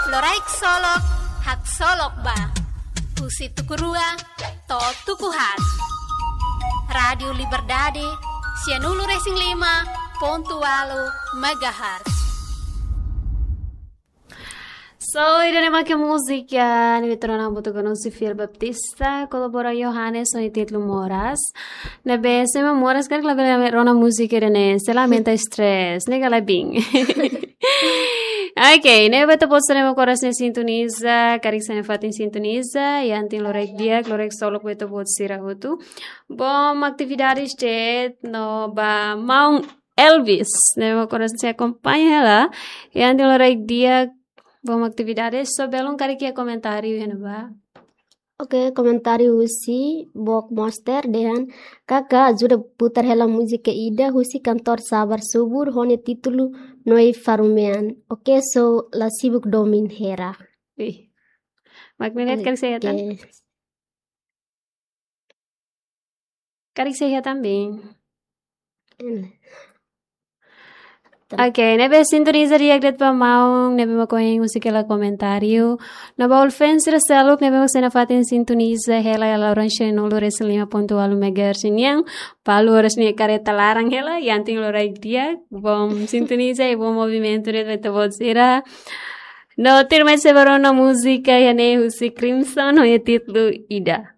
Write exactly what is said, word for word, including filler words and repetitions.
Loraik Solok, haksolok ba. Husi tuku rua to'o tuku haat. Rádiu Liberdade, sianulu-resin-lima pontu ualu megahertz. So, ida-ne'e mak múzika ne'ebé ita rona hamutuk ho Sofia Baptista, kolabora Johannes, ho nia títulu Moras. Ne'ebé se ema moras karik labele rona múzika ida-ne'e, sei aumenta stress, ne'e ka lae, Bin? Ok, ne'ebé ita-boot sira ne'ebé mak oras ne'e sintoniza, karik sira-nia fatin sintoniza, iha antin loraik di'ak, loraik solok ba ita-boot sira hotu. Bom atividades de'it, no ba maun Elvis, ne'ebé mak oras ne'e sei akompaña hela, iha antin loraik di'ak, bom atividades, só belun karik iha komentáriu iha ne'ebá. Ok, komentáriu husi Bok Monster dehan, "Kaka, ajuda putar hela múzika ida husi kantór Sabar Subur ho nia títulu Noi Faru Mean." Ok, so la sibuk domin hela. Ih. Mak ne'e de'it karik sei iha tan? Ok. Karik sei iha tan, Bin? Hmm. Ok, ne'ebé sintoniza di'ak de'it ba maun ne'ebé mak ohin husik hela komentáriu. No ba uluk fans sira seluk ne'ebé mak sira-nia fatin sintoniza hela iha loron sianulu-resin-lima pontu ualu megahertz nian. Palu oras ne'e kareta laran hela, iha antin loraik di'ak, bom sintoniza i bom movimentu de'it ba ita-boot sira. No tuirmai sei bá rona múzika iha ne'e husi Crimson, ho nia títulu Ida.